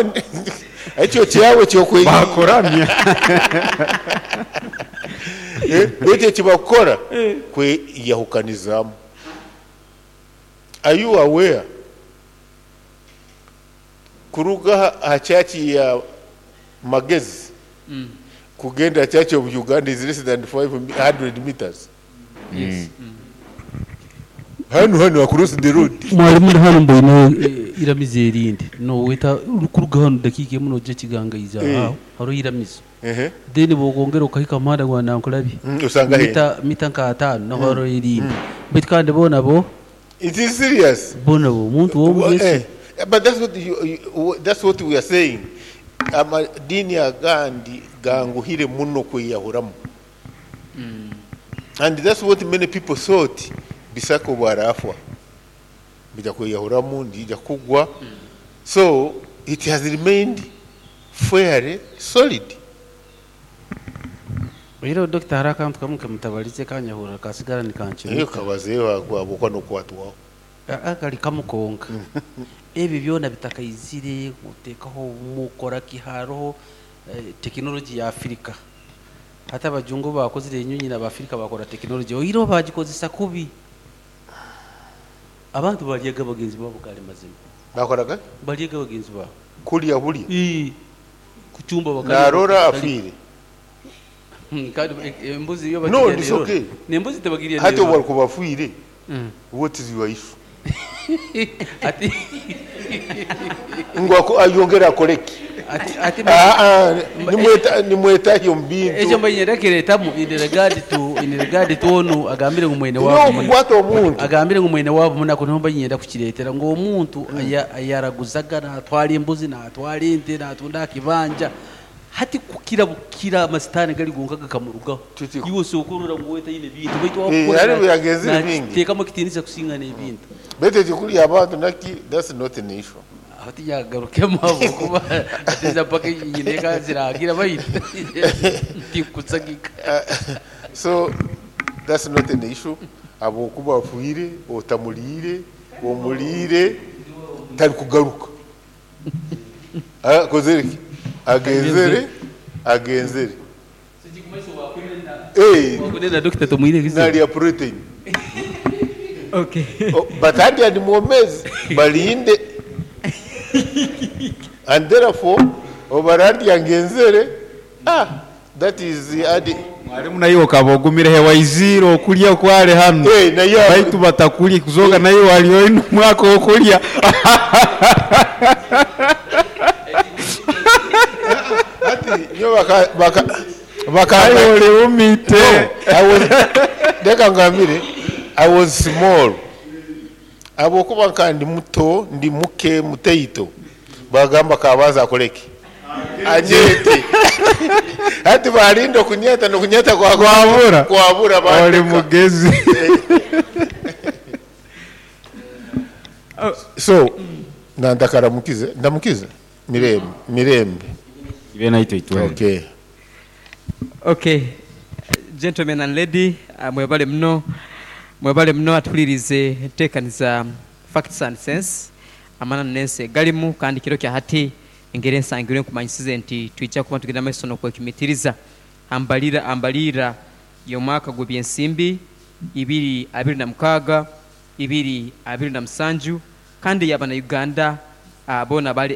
one. Ekyo kyawe kyokwe. Bakuramya. Baitu ekibakukora kweyahukanizaamu. Are you aware? Kuruga aha church ya Magezi kugenda Church of Uganda is less than 500 meters. Yes. Hanu hanu across the road. Mwalimu ndi hanu mboineho iramizo erindi noweta orikuruga hanu dakiika emwe noija Kigangaizi aho hariho iramizo then bwokwongera okahika omuhanda gwa Nankulabye Osanga he? mita nka ataano naho hariho erindi baitu kandi boona bo It is serious. Boona bo omuntu w'omu Yesu. But that's what you, you, that's what we are saying. Amadini agandi ganguhire muno kweyahuramu. And that's what many people thought. Bisaka obwarafwa bija kweyahuramu, ndija kugwa. So it has remained fairly solid. Oihireho Dokita hariho akantu kamwe kemutabarize kanyahurra kasigara nikancumita. Naye kabazeeho habwokuba n'okwatwaho. Aa kari kamwe konka. Ebi byona bitakaizire oteekaho obumu okora ki hariho tekinologi ya Africa. Hati abajungu obu baakozire enyonyi n'Abafirika baakora tekinologi oihireho baagikozesa kubi. Abantu baryaga bagenzi baabo gari mazima. Bakoraga ki? Baryaga bagenzi baabo. Kulya bulya? Ii. Kucumba bakarya Narora bakarya. afiire. Kandi embuzi yo No, bagirya it's nerora. okay. N'embuzi tebagirya Hati nerora. obu arikuba afiire, what is your issue? Ati Ngu ayongere akore ki? Ati ati Nimwetahya omu bintu. Ekyo mba niinyenda kiretamu in regard to onu agambire ngu mwene waabo No, kukwata omuntu. Agambire ngu mwene waabo munaku niho mba niinyenda kukireetera ngu omuntu ayaraguzaga naatwara embuzi, naatwara ente, naatunda aha kibanja hati kukira bukira amasitaani gari gonka gakamurugaho. Iwe osooka orora ngu we taine bintu baitu owakukora Hariho yagenzire bingi. nakiteekamu ekitiinisa kusinga n'ebintu. Baitu ekikurya abantu naki, that's not an issue. Aho tinyakugarukemu ahabw'okuba hati mpaka nyine eka ziragira baitu tinkusagika. So that's not an issue. Habwokuba afiire, otamuliire, omuliire, tarikugaruka. Akozere ki? Agenzere, agenzere. Wakunena Dokita Tumwine kizibu. Nalya protein. Okay. Oh, but hati ali mwomezi, balinde. And therefore, obarandi angenzere, that is the adi. Mwalimu naye okaba ogumire he waizire okulya okware hanu. Naye Baitu batakulya kuzoga naye wali oine omwaka okulya. Hati nyo baka, baka, baka, Aye oli umite. No, I was, leka ngambire, I was small. Habwokuba nka ndi muto, ndi muke muteito. Bagamba kabaza akoleki. Anyete. Hati balinda okunyeta n'okunyeta kwa Kwabura. Kwabura Oli bandeka. mugezi. So, nandakaramukize, ndamukize. Mirembe, mirembe. Ibe naitwe itwele. Okay. Okay. Gentlemen and lady, mwebale muno. Mwebale muno atulirize enteekaniza Facts and Sense. Amananu n'ensi egalimu kandi kiro kya hati engeri ensangirwe nkumanyisize nti twija kuba tugenda maiso n'okwekimitiriza ambalira y'omwaka gw'ebyensimbi ibiri abiri na mukaaga ibiri abiri na musanju kandi yaba na Uganda, bona bali